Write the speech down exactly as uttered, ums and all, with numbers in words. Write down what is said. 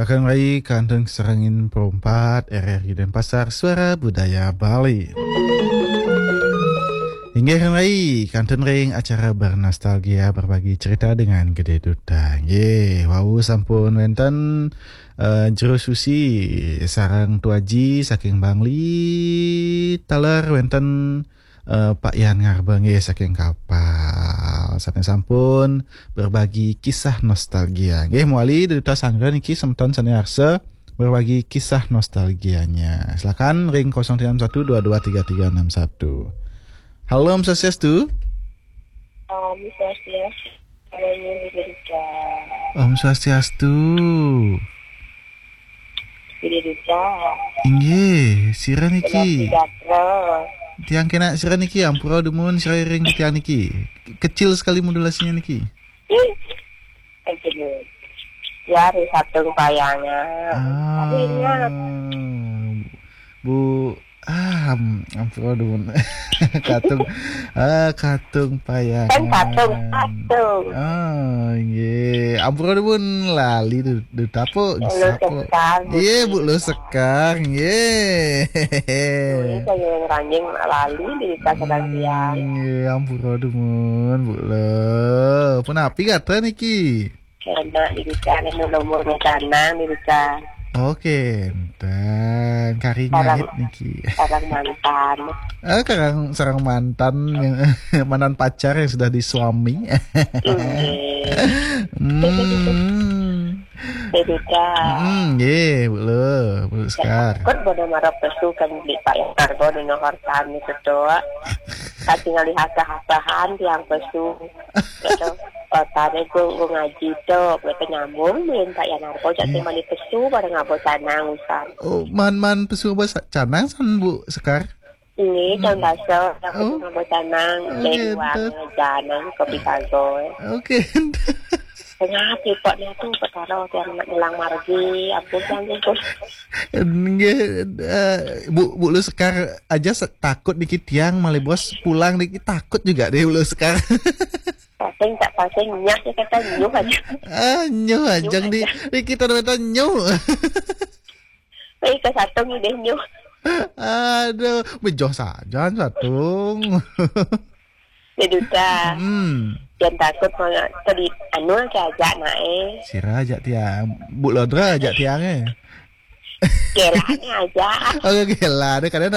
Akan rai kantun sarengin perumpat R R I Denpasar, Suara Budaya Bali. Inggih rai kantun ring acara bernostalgia, berbagi cerita dengan Gede Duta. Nggih, wau sampun wenten, eh, Jero Susi sareng Tuaji saking Bangli, taler wenten eh, Pak Yan Ngarbeng nggih saking Kapal. Sampun-sampun berbagi kisah nostalgia. Nggih, mawali Duta sanggra niki semeton sane arsa berbagi kisah nostalgianya. Silakan ring kosong tiga enam satu dua dua tiga tiga enam satu. Halo, Om Swastiastu. Om Swastiastu. Halo, Gede Duta. Om Swastiastu. Gede Duta. Inggih, sira niki. Sejahtera. Tiang kena sira niki, ampura dumun sira ring tiang niki. Kecil sekali modulasinya niki. Ih, kecil. Ya, hari Sabtu Payangan. Ah, tapi ingat. Bu, ah, am-, ampura dumun. Katung, ah, Katung Payangan. Kan Katung, Katung. Ah, nggih. Ampura dumun lali du-, Duta, Lu Sekar, Bu. Iya, Bu, Lu Sekar, nggih. Ini saya yang ranjing lali di Duta sedang siang. Hmm, nggih, ampura dumun, Bu, Lu. Punapi gatra niki? Enak di Duta, anu lembur canang di Duta. Oke, enten. Kari ngait niki. Sareng mantan. Eh, sareng, sareng mantan yang, mantan pacar yang sudah disuami. Nggih. Hmm. Bebeda. Hmm, nggih, Bu Lu, Bu Lu Sekar. Kut bodo marap pesu kan beli Pak Yang Arbo di Nohor Tani ketua. Tapi ngalih hasah-hasahan tiang pesu. Gitu. Kotane ku, ku ngaji tu, mereka nyambung, minta ya narko, jadi mani pesu, pada ngabo canang, usan. Oh, man, man pesu apa sa-, canang, san, Bu Sekar? Ini, hmm, can basa, yang oh, pesu ngabo canang, oh, dari gitu. Uang, janang, kopi sago. Oke. Tengah, tipok ni tu, perkara, yang nak nyelang margi, ampun, yang gitu. Nggih, eh, Bu, Bu Lu Sekar aja se-, takut niki tiang, malih bos pulang niki takut juga deh Bu Lu Sekar. Pasing tak pasing, nyah, dia kata nyuh aja. Ah, nyuh aja. Nyuh di, aja. Di kita namanya nyuh. Baik, ke satung ni deh nyuh. Aduh, bejoh saja satung. Dia Duta. Hmm. Yang takut mana tadi anu ke ajak naik. Sira ajak tiang. Bu Lodra ajak tiang, eh. Gelanya aja. Oh, gela. Ada kadang